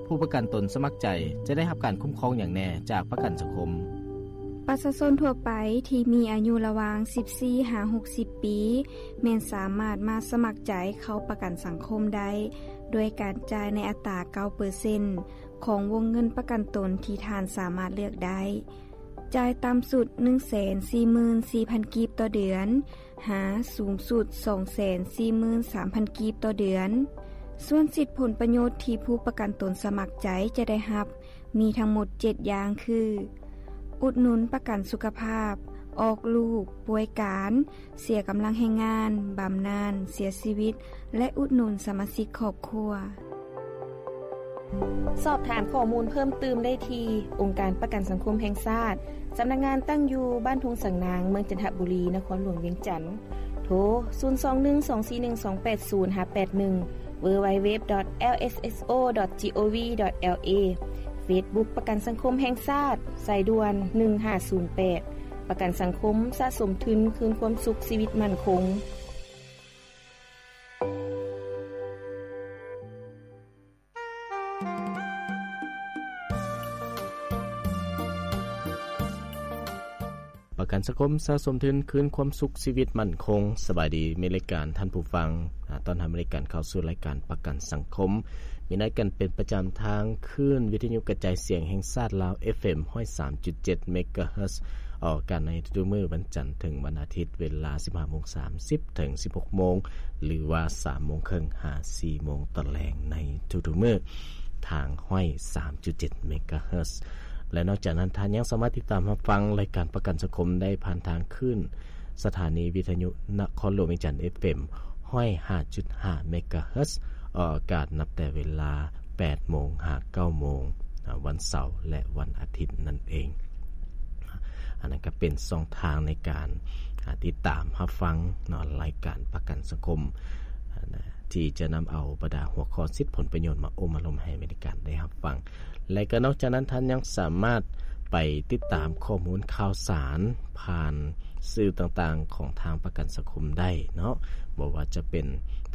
ຜູ້ປະກັນຕົນສະໝັກໃຈຈະໄດ້ຮັບການຄຸ້ມຄອງຫຍັງແດ່ຈາກປະກັນສັງຄົມ? ປະຊາຊົນທົ່ວໄປທີ່ມີອາຍຸລະຫວ່າງສິບສີ່ຫາຫົກສິບປີ ແມ່ນສາມາດມາສະໝັກໃຈເຂົ້າປະກັນສັງຄົມໄດ້ ດ້ວຍການຈ່າຍໃນອັດຕາເກົ້າເປີເຊັນຂອງວົງເງິນປະກັນຕົນທີ່ທ່ານສາມາດເລືອກໄດ້. ຈ່າຍຕ່ຳສຸດໜຶ່ງແສນສີ່ໝື່ນສີ່ພັນກີບຕໍ່ເດືອນ ຫາສູງສຸດສອງແສນສີ່ໝື່ນສາມພັນກີບຕໍ່ເດືອນ. ສ່ວນສິດຜົນປະໂຫຍດທີ່ຜູ້ປະກັນຕົນສະໝັກໃຈຈະໄດ້ຮັບ ມີທັງໝົດເຈັດຢ່າງຄື ອຸດໜູນປະກັນສຸຂະພາບ, ອອກລູກ, ປ່ວຍການ, ເສຍກຳລັງແຮງງານ, ບຳນານ, ເສຍຊີວິດ ແລະ ອຸດໜູນສະມາຊິກຄອບຄົວ. ສອບຖາມຂໍ້ມູນເພີ່ມຕື່ມໄດ້ທີ່ ອົງການປະກັນສັງຄົມແຫ່ງຊາດ, ສຳນັກງານຕັ້ງຢູ່ບ້ານທົ່ງສັງນາງ, ເມືອງຈັນທະບູລີ, ນະຄອນຫຼວງວຽງຈັນ. ໂທ ສູນສອງໜຶ່ງສອງສີ່ໜຶ່ງສອງແປດສູນ ຫາ ແປດໜຶ່ງ www.lsso.gov.la. Facebook ປະກັນສັງຄົມແຫ່ງຊາດ, ສາຍດ່ວນ ໜຶ່ງຫ້າສູນແປດ. ປະກັນສັງຄົມ, ສະສົມທຶນຄືນຄວາມສຸກ, ຊີວິດໝັ້ນຄົງ. ປະກັນສັງຄົມ, ສະສົມທຶນ, ຄືນຄວາມສຸກ, ຊີວິດໝັ້ນຄົງ. ສະບາຍດີ, ມີລາຍການ, ທ່ານຜູ້ຟັງ, ອາ, ຕ້ອນຮັບມີລາຍການເຂົ້າສູ່ລາຍການປະກັນສັງຄົມ. ມີລາຍການເປັນປະຈຳທາງຄື້ນວິທະຍຸກະຈາຍສຽງແຫ່ງຊາດລາວ ເອັຟເອັມ ຮ້ອຍສາມຈຸດເຈັດເມກາເຮີດ, ອອກອາກາດໃນທຸກໆມື້ວັນຈັນເຖິງວັນອາທິດ ເວລາ ສິບຫ້າໂມງສາມສິບ ເຖິງ ສິບຫົກໂມງ ຫຼືວ່າ ສາມໂມງເຄິ່ງ ຫາ ສີ່ໂມງຕອນແລງໃນທຸກໆມື້ ທາງ ຮ້ອຍສາມຈຸດເຈັດເມກາເຮີດ. ແລະ ນອກຈາກນັ້ນ, ທ່ານຍັງສາມາດຕິດຕາມຮັບຟັງລາຍການປະກັນສັງຄົມໄດ້ຜ່ານທາງຄື້ນສະຖານີວິທະຍຸນະຄອນຫຼວງວຽງຈັນ ເອັຟເອັມ ຮ້ອຍຫ້າຈຸດຫ້າເມກາເຮີດ, ອອກອາກາດນັບແຕ່ເວລາ ແປດໂມງ ຫາ ເກົ້າໂມງ ອາ, ວັນເສົາ ແລະ ວັນອາທິດນັ້ນເອງ. ອັນນັ້ນກໍເປັນຊ່ອງທາງໃນການ, ອາ, ຕິດຕາມຮັບຟັງເນາະ, ລາຍການປະກັນສັງຄົມ, ອາ, ທີ່ຈະນຳເອົາບັນດາຫົວຂໍ້ສິດຜົນປະໂຫຍດມາໂອ້ມາລົມໃຫ້ມີລາຍການໄດ້ຮັບຟັງ. ແລະ ກໍນອກຈາກນັ້ນ, ທ່ານຍັງສາມາດໄປຕິດຕາມຂໍ້ມູນຂ່າວສານຜ່ານ ສື່ຕ່າງໆຂອງທາງປະກັນສັງຄົມໄດ້ເນາະ, ບໍ່ວ່າຈະເປັນ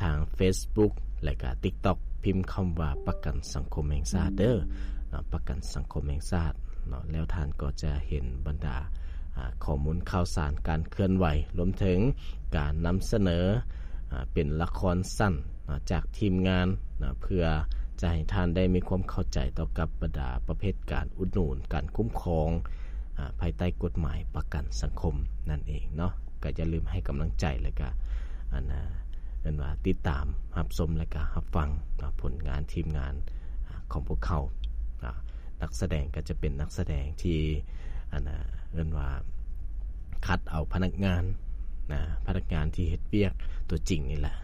ທາງເຟສບຸກ ແລະກະຕິກຕັອກ, ພິມຄຳວ່າປະກັນສັງຄົມແຫ່ງຊາດເດີເນາະ, ປະກັນສັງຄົມແຫ່ງຊາດເນາະ, ແລ້ວທ່ານກໍຈະເຫັນບັນດາ, ອາ, ຂໍ້ມູນຂ່າວສານການເຄື່ອນໄຫວ, ລວມເຖິງການນຳສະເໜີ, ອາ, ເປັນລະຄອນສັ້ນ ນະ ຈາກທີມງານ ນະ ເພື່ອຈະໃຫ້ທ່ານໄດ້ມີຄວາມເຂົ້າໃຈຕໍ່ກັບບັນດາປະເພດການອຸດໜູນ, ການຄຸ້ມຄອງ, ອາ, ພາຍໃຕ້ກົດໝາຍປະກັນສັງຄົມນັ້ນເອງເນາະ. ກໍຢ່າລືມໃຫ້ກຳລັງໃຈ ແລະກະ ອັນນະ ເອີ້ນວ່າຕິດຕາມຮັບຊົມ ແລະກະຮັບຟັງ ນະ ຜົນງານທີມງານ ອາ, ຂອງພວກເຂົາ ນະ. ນັກສະແດງກໍຈະເປັນນັກສະແດງທີ່ ອັນນະ ເອີ້ນວ່າຄັດເອົາພະນັກງານນະ, ພະນັກງານທີ່ເຮັດວຽກຕົວຈິງນີ້ແຫຼະ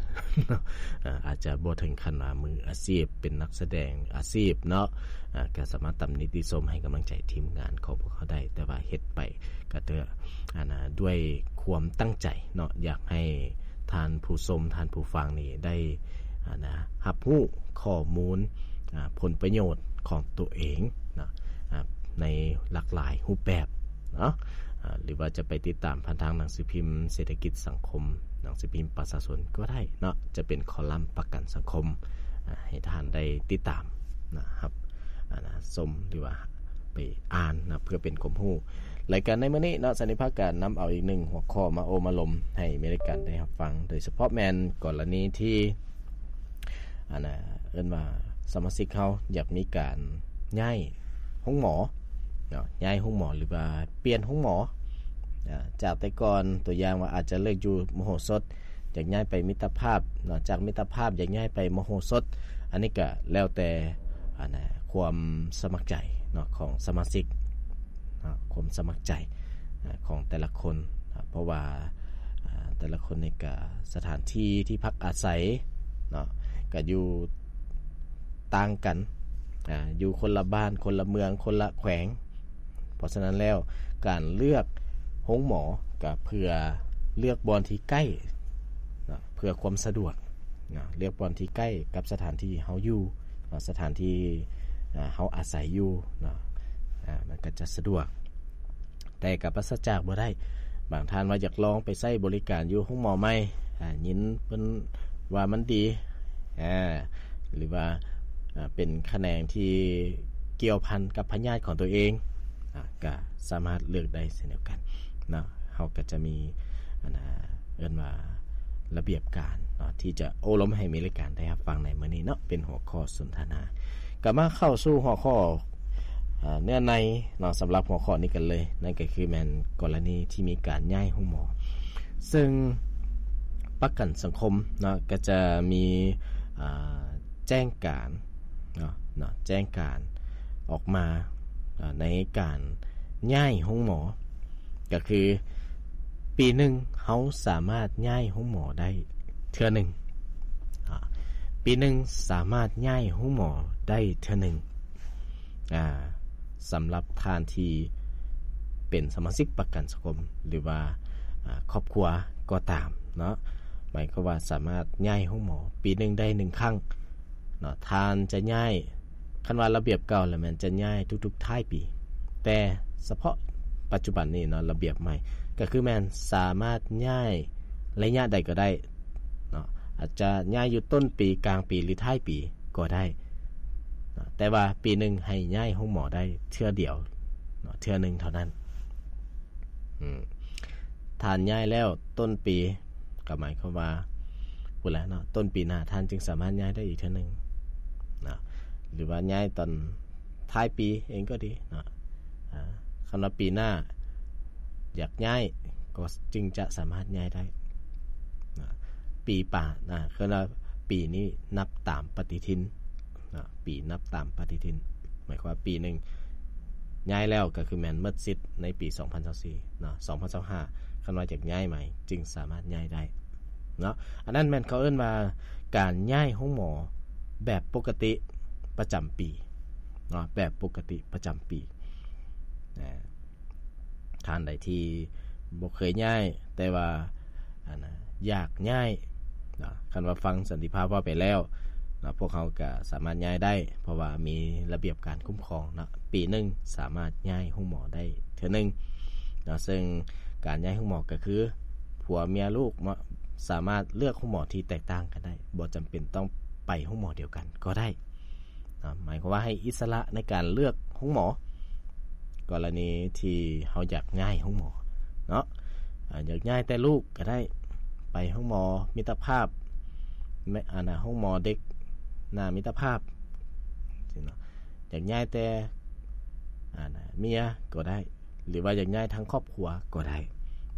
ເນາະ, ອາ, ອາດຈະບໍ່ເຖິງຂັ້ນວ່າມືອາຊີບ, ເປັນນັກສະແດງອາຊີບເນາະ, ອາ, ກໍສາມາດຕຳໜິຕິຊົມໃຫ້ກຳລັງໃຈທີມງານຂອງພວກເຮົາໄດ້, ແຕ່ວ່າເຮັດໄປກໍເພື່ອ ອັນນະ ດ້ວຍຄວາມຕັ້ງໃຈເນາະ, ຢາກໃຫ້ທ່ານຜູ້ຊົມ, ທ່ານຜູ້ຟັງນີ້ໄດ້ ອັນນະ ຮັບຮູ້ຂໍ້ມູນ ອາ ຜົນປະໂຫຍດຂອງຕົວເອງເນາະ ອາ ໃນຫຼາກຫຼາຍຮູບແບບເນາະ ອາ ຫຼືວ່າຈະໄປຕິດຕາມຜ່ານທາງໜັງສືພິມເສດຖະກິດສັງຄົມ, ໜັງສືພິມປະຊາຊົນກໍໄດ້ເນາະ, ຈະເປັນຄໍລັມປະກັນສັງຄົມ ອາ ໃຫ້ທ່ານໄດ້ຕິດຕາມນະ ຮັບ ອາ ນະ ຊົມ ຫຼືວ່າໄປອ່ານນະ ເພື່ອເປັນຄວາມຮູ້. ລາຍການໃນມື້ນີ້ເນາະ ສັນນິພາກກໍນຳເອົາອີກໜຶ່ງຫົວຂໍ້ມາໂອ້ມາລົມໃຫ້ມີລາຍການໄດ້ຮັບຟັງ, ໂດຍສະເພາະແມ່ນກໍລະນີທີ່ ອັນນະ ເອີ້ນວ່າສະມາຊິກເຮົາຢາກມີການຍ້າຍໂຮງໝໍເນາະ, ຍ້າຍໂຮງໝໍ ຫຼືວ່າປ່ຽນໂຮງໝໍ ອາ ຈາກແຕ່ກ່ອນ ຕົວຢ່າງວ່າອາດຈະເລີກຢູ່ມະໂຫສົດ ຢາກຍ້າຍໄປມິດຕະພາບເນາະ, ຈາກມິດຕະພາບຢາກຍ້າຍໄປມະໂຫສົດ, ອັນນີ້ກະແລ້ວແຕ່ ອັນນະ ຄວາມສະໝັກໃຈເນາະ ຂອງສະມາຊິກເນາະ, ຄວາມສະໝັກໃຈ ອາ ຂອງແຕ່ລະຄົນ ອາ ເພາະວ່າ ອາ ແຕ່ລະຄົນນີ້ກະ ສະຖານທີ່ທີ່ພັກອາໄສເນາະ ກະຢູ່ຕ່າງກັນ ອາ ຢູ່ຄົນລະບ້ານ ຄົນລະເມືອງ ຄົນລະແຂວງ. ເພາະສະນັ້ນແລ້ວ ການເລືອກໂຮງໝໍກະເພື່ອເລືອກບ່ອນທີ່ໃກ້ເນາະ ເພື່ອຄວາມສະດວກເນາະ, ເລືອກບ່ອນທີ່ໃກ້ກັບສະຖານທີ່ເຮົາຢູ່ເນາະ, ສະຖານທີ່ ອາ ເຮົາອາໄສຢູ່ເນາະ ອາ ມັນກະຈະສະດວກ. ແຕ່ກໍປາສະຈາກບໍ່ໄດ້. ບາງທ່ານວ່າຢາກລອງໄປໃຊ້ບໍລິການຢູ່ໂຮງໝໍໃໝ່ ອາ ຍິນເພິ່ນວ່າມັນດີ ອາ ຫຼືວ່າ ເປັນຂະແໜງທີ່ກ່ຽວພັນກັບພະຍາດຂອງຕົວເອງ ກໍສາມາດເລືອກໄດ້ເຊັ່ນດຽວກັນເນາະ. ເຮົາກໍຈະມີ ອັນນ່າ ເອີ້ນວ່າລະບຽບການເນາະ ທີ່ຈະໂອ້ລົມໃຫ້ມີລາຍການໄດ້ຮັບຟັງໃນມື້ນີ້ເນາະ ເປັນຫົວຂໍ້ສົນທະນາ. ກໍມາເຂົ້າສູ່ຫົວຂໍ້ ເອີ ເນື້ອໃນເນາະ ສຳລັບຫົວຂໍ້ນີ້ກັນເລີຍ, ນັ້ນກໍຄືແມ່ນກໍລະນີທີ່ມີການຍ້າຍໂຮງໝໍ. ເຊິ່ງປະກັນສັງຄົມເນາະ ກໍຈະມີ ອ່າ ແຈ້ງການເນາະ ເນາະ ແຈ້ງການອອກມາ ອ່າ ໃນການຍ້າຍໂຮງໝໍ ກໍຄືປີໜຶ່ງເຮົາສາມາດຍ້າຍໂຮງໝໍໄດ້ເທື່ອໜຶ່ງ. ອ່າ ປີໜຶ່ງສາມາດຍ້າຍໂຮງໝໍໄດ້ເທື່ອໜຶ່ງ ອ່າ ສຳລັບທ່ານທີ່ເປັນສະມາຊິກປະກັນສັງຄົມ ຫຼືວ່າ ອ່າ ຄອບຄົວກໍຕາມເນາະ, ໝາຍຄວາມວ່າສາມາດຍ້າຍໂຮງໝໍປີໜຶ່ງໄດ້ໜຶ່ງຄັ້ງເນາະ. ທ່ານຈະຍ້າຍ ຄັນວ່າລະບຽບເກົ່າແລ້ວແມ່ນຈະຍ້າຍທຸກໆທ້າຍປີ, ແຕ່ສະເພາະປັດຈຸບັນນີ້ເນາະ ລະບຽບໃໝ່ກໍຄືແມ່ນສາມາດຍ້າຍໄລຍະໃດກໍໄດ້ເນາະ, ອາດຈະຍ້າຍຢູ່ຕົ້ນປີ, ກາງປີ ຫຼື ທ້າຍປີກໍໄດ້ເນາະ, ແຕ່ວ່າປີໜຶ່ງໃຫ້ຍ້າຍໂຮງໝໍໄດ້ເທື່ອດຽວເນາະ, ເທື່ອໜຶ່ງເທົ່ານັ້ນ. ອືມ ທ່ານຍ້າຍແລ້ວຕົ້ນປີ ກໍໝາຍຄວາມວ່າພຸ້ນແຫຼະເນາະ, ຕົ້ນປີໜ້າທ່ານຈຶ່ງສາມາດຍ້າຍໄດ້ອີກເທື່ອໜຶ່ງເນາະ ຫຼືວ່າຍ້າຍຕອນທ້າຍປີເອງກໍດີເນາະ. ອາ ຄັນວ່າປີໜ້າຢາກຍ້າຍ ກໍຈຶ່ງຈະສາມາດຍ້າຍໄດ້ເນາະ. ປີປານ ອາ ຄືວ່າປີນີ້ນັບຕາມປະຕິທິນເນາະ, ປີນັບຕາມປະຕິທິນ ໝາຍຄວາມວ່າປີໜຶ່ງຍ້າຍແລ້ວ ກໍຄືແມ່ນໝົດສິດໃນປີສອງພັນຊາວສີ່ເນາະ, ສອງພັນຊາວຫ້າ ຄັນວ່າຢາກຍ້າຍໃໝ່ຈຶ່ງສາມາດຍ້າຍໄດ້ເນາະ. ອັນນັ້ນແມ່ນເຂົາເອີ້ນວ່າການຍ້າຍໂຮງໝໍແບບປົກກະຕິປະຈຳປີເນາະ, ແບບປົກກະຕິປະຈຳປີ. ອາ ທ່ານໃດທີ່ບໍ່ເຄີຍຍ້າຍ ແຕ່ວ່າ ອັນນ່າ ຢາກຍ້າຍເນາະ, ຄັນວ່າຟັງສັນຕິພາບເວົ້າໄປແລ້ວເນາະ ພວກເຮົາກໍສາມາດຍ້າຍໄດ້ ເພາະວ່າມີລະບຽບການຄຸ້ມຄອງເນາະ, ປີໜຶ່ງສາມາດຍ້າຍໂຮງໝໍໄດ້ເທື່ອໜຶ່ງເນາະ. ເຊິ່ງການຍ້າຍໂຮງໝໍກໍຄື ຜົວເມຍລູກເນາະ ສາມາດເລືອກໂຮງໝໍທີ່ແຕກຕ່າງກັນໄດ້, ບໍ່ຈຳເປັນຕ້ອງໄປໂຮງໝໍດຽວກັນກໍໄດ້. ນະ ໝາຍຄວາມວ່າໃຫ້ອິດສະຫຼະໃນການເລືອກໂຮງໝໍ ກໍລະນີທີ່ເຮົາຢາກຍ້າຍໂຮງໝໍເນາະ, ອາ ຢາກຍ້າຍແຕ່ລູກກໍໄດ້ ໄປໂຮງໝໍມິດຕະພາບ ແມ່ ອັນນ່າ ໂຮງໝໍເດັກໜ້າມິດຕະພາບ ຊີ້ເນາະ, ຢາກຍ້າຍແຕ່ ອັນນ່າ ເມຍກໍໄດ້ ຫຼືວ່າຢາກຍ້າຍທັງຄອບຄົວກໍໄດ້,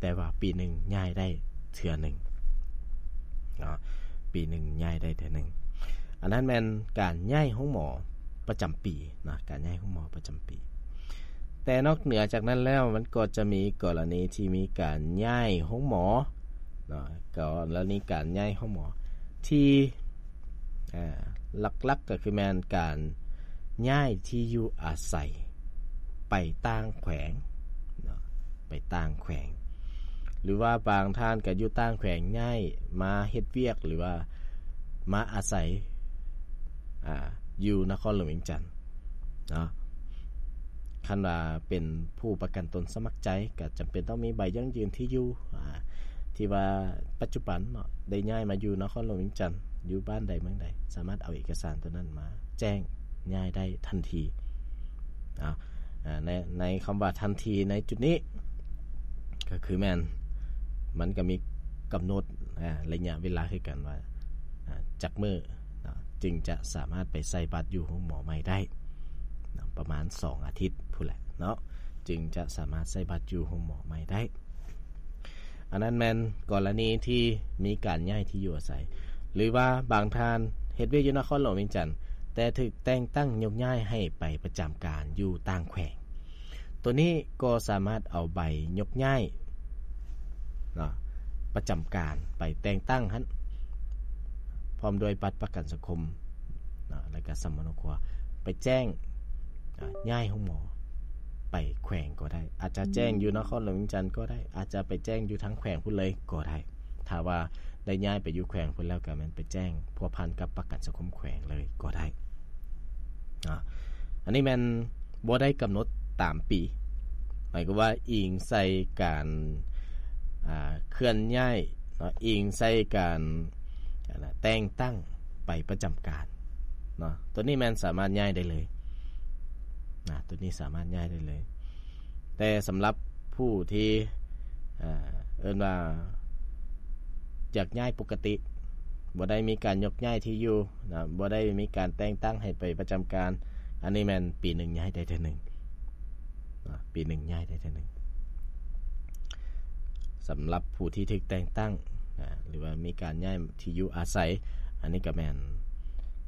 ແຕ່ວ່າປີໜຶ່ງຍ້າຍໄດ້ເທື່ອໜຶ່ງເນາະ, ປີໜຶ່ງຍ້າຍໄດ້ເທື່ອໜຶ່ງ. ອັນນັ້ນແມ່ນການຍ້າຍໂຮງໝໍປະຈຳປີເນາະ, ການຍ້າຍໂຮງໝໍປະຈະປີ. ແຕ່ນອກເໜືອຈາກນັ້ນແລ້ວ ມັນກໍຈະມີກໍລະນີທີ່ມີການຍ້າຍໂຮງໝໍເນາະ, ກໍລະນີການຍ້າຍໂຮງໝໍທີ່ ອ່າ ຫຼັກໆກໍຄືແມ່ນການຍ້າຍທີ່ຢູ່ອາໄສໄປຕ່າງແຂວງເນາະ, ໄປຕ່າງແຂວງ ຫຼືວ່າບາງທ່ານກໍຢູ່ຕ່າງແຂວງ ຍ້າຍມາເຮັດວຽກ ຫຼືວ່າມາອາໄສ ອ່າ ຢູ່ນະຄອນຫຼວງວຽງຈັນເນາະ. ຄັນວ່າເປັນຜູ້ປະກັນຕົນສະໝັກໃຈ ກໍຈຳເປັນຕ້ອງມີໃບຢັ້ງຢືນທີ່ຢູ່ ອ່າ ທີ່ວ່າປັດຈຸບັນເນາະ ໄດ້ຍ້າຍມາຢູ່ນະຄອນຫຼວງວຽງຈັນ ຢູ່ບ້ານໃດເມືອງໃດ ສາມາດເອົາເອກະສານຕົວນັ້ນມາແຈ້ງຍ້າຍໄດ້ທັນທີ. ເອົາ ໃນ ໃນຄຳວ່າທັນທີໃນຈຸດນີ້ ກໍຄືແມ່ນ ມັນກໍມີກຳນົດ ອ່າ ໄລຍະເວລາຄືກັນວ່າ ອ່າ ຈັກມື້ເນາະ ຈຶ່ງຈະສາມາດໄປໃສ່ບັດຢູ່ໂຮງໝໍໃໝ່ໄດ້ເນາະ, ປະມານສອງອາທິດພຸ້ນແຫຼະເນາະ ຈຶ່ງຈະສາມາດໃສ່ບັດຢູ່ໂຮງໝໍໃໝ່ໄດ້. ອັນນັ້ນແມ່ນກໍລະນີທີ່ມີການຍ້າຍທີ່ຢູ່ອາໄສ ຫຼືວ່າບາງທ່ານເຮັດວຽກຢູ່ນະຄອນຫຼວງວຽງຈັນ ແຕ່ຖືກແຕ່ງຕັ້ງຍົກຍ້າຍໃຫ້ໄປປະຈຳການຢູ່ຕ່າງແຂວງ, ໂຕນີ້ກໍສາມາດເອົາໃບຍົກຍ້າຍເນາະ ປະຈຳການໄປແຕ່ງຕັ້ງຫັ້ນ ພ້ອມດ້ວຍບັດປະກັນສັງຄົມເນາະ ແລ້ວກໍສຳມະໂນຄົວ ໄປແຈ້ງ ອາ ຍ້າຍໂຮງໝໍໄປແຂວງກໍໄດ້, ອາດຈະແຈ້ງຢູ່ນະຄອນຫຼວງວຽງຈັນກໍໄດ້, ອາດຈະໄປແຈ້ງຢູ່ທາງແຂວງພຸ້ນເລີຍກໍໄດ້. ຖ້າວ່າໄດ້ຍ້າຍໄປຢູ່ແຂວງພຸ້ນແລ້ວ ກໍແມ່ນໄປແຈ້ງພົວພັນກັບປະກັນສັງຄົມແຂວງເລີຍກໍໄດ້ເນາະ. ອັນນີ້ແມ່ນບໍ່ໄດ້ກຳນົດຕາມປີ, ໝາຍຄວາມວ່າອີງໃສ່ການ ອ່າ ເຄື່ອນຍ້າຍເນາະ, ອີງໃສ່ການ ອັນນ່າ ແຕ່ງຕັ້ງໄປປະຈຳການ ເນາະ ຕົວນີ້ແມ່ນສາມາດຍ້າຍໄດ້ເລີຍນະ ຕົວນີ້ສາມາດຍ້າຍໄດ້ເລີຍ. ແຕ່ສຳລັບຜູ້ທີ່ ເອີ ເອີ້ນວ່າຢາກຍ້າຍປົກກະຕິ ບໍ່ໄດ້ມີການຍົກຍ້າຍທີ່ຢູ່ນະ ບໍ່ໄດ້ມີການແຕ່ງຕັ້ງໃຫ້ໄປປະຈຳການ ອັນນີ້ແມ່ນປີໜຶ່ງຍ້າຍໄດ້ເທື່ອໜຶ່ງນະ ປີໜຶ່ງຍ້າຍໄດ້ເທື່ອໜຶ່ງ. ສຳລັບຜູ້ທີ່ຖືກແຕ່ງຕັ້ງນະ ຫຼືວ່າມີການຍ້າຍທີ່ຢູ່ອາໄສ ອັນນີ້ກໍແມ່ນ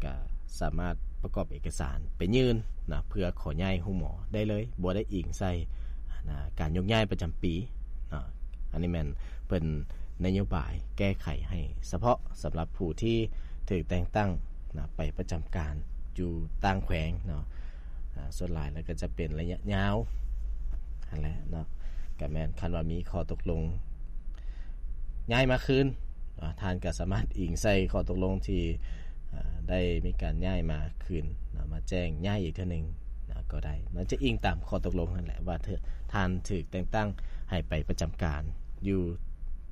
ກະສາມາດປະກອບເອກະສານໄປຍື່ນນະ ເພື່ອຂໍຍ້າຍໂຮງໝໍໄດ້ເລີຍ ບໍ່ໄດ້ອີງໃສ່ນະ ການຍົກຍ້າຍປະຈຳປີເນາະ. ອັນນີ້ແມ່ນເພິ່ນນະໂຍບາຍແກ້ໄຂໃຫ້ສະເພາະສຳລັບຜູ້ທີ່ຖືກແຕ່ງຕັ້ງນະ ໄປປະຈຳການຢູ່ຕ່າງແຂວງເນາະ. ອາ ສ່ວນຫຼາຍແລ້ວກໍຈະເປັນໄລຍະຍາວຫັ້ນແຫຼະເນາະ. ກໍແມ່ນຄັນວ່າມີຂໍ້ຕົກລົງຍ້າຍມາຄືນ ອາ ທ່ານກໍສາມາດອີງໃສ່ຂໍ້ຕົກລົງທີ່ ອາ ໄດ້ມີການຍ້າຍມາຄືນນະ ມາແຈ້ງຍ້າຍອີກເທື່ອໜຶ່ງນະ ກໍໄດ້ນະ. ຈະອີງຕາມຂໍ້ຕົກລົງຫັ້ນແຫຼະວ່າ ທ່ານຖືກແຕ່ງຕັ້ງໃຫ້ໄປປະຈຳການຢູ່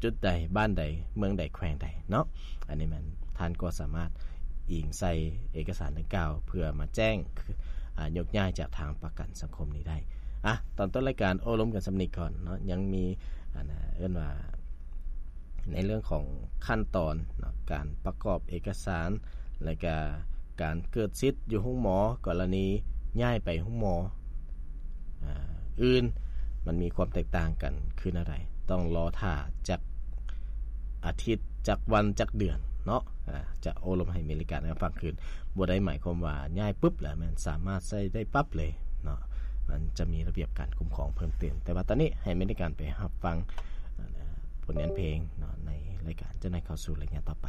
ຈຸດໃດ ບ້ານໃດ ເມືອງໃດ ແຂວງໃດເນາະ. ອັນນີ້ແມ່ນທ່ານກໍສາມາດອີງໃສ່ເອກະສານດັ່ງກ່າວ ເພື່ອມາແຈ້ງ ອາ ຍົກຍ້າຍຈາກທາງປະກັນສັງຄົມນີ້ໄດ້. ອາ ຕອນຕົ້ນລາຍການໂອ້ລົມກັນສ່ຳນີ້ກ່ອນເນາະ ຍັງມີ ອັນ ເອີ້ນວ່າ ໃນເລື່ອງຂອງຂັ້ນຕອນເນາະ ການປະກອບເອກະສານ ແລະກະການເກີດສິດຢູ່ໂຮງໝໍ ກໍລະນີຍ້າຍໄປໂຮງໝໍ ອາ ອື່ນ ມັນມີຄວາມແຕກຕ່າງກັນຄືແນວໃດ? ຕ້ອງລໍຖ້າຈັກອາທິດ ຈັກວັນ ຈັກເດືອນເນາະ ອາ ຈະໂອ້ລົມໃຫ້ມີລາຍການໃຫ້ຟັງຄືນ. ບໍ່ໄດ້ໝາຍຄວາມວ່າຍ້າຍປຶບແລ້ວແມ່ນສາມາດໃຊ້ໄດ້ປັບເລີຍເນາະ ມັນຈະມີລະບຽບການຄຸ້ມຄອງເພີ່ມເຕີມ. ແຕ່ວ່າຕອນນີ້ໃຫ້ມີລາຍການໄປຮັບຟັງ ອາ ຜົນງານເພງເນາະ ໃນລາຍການຈະໄດ້ເຂົ້າສູ່ໄລຍະຕໍ່ໄປ.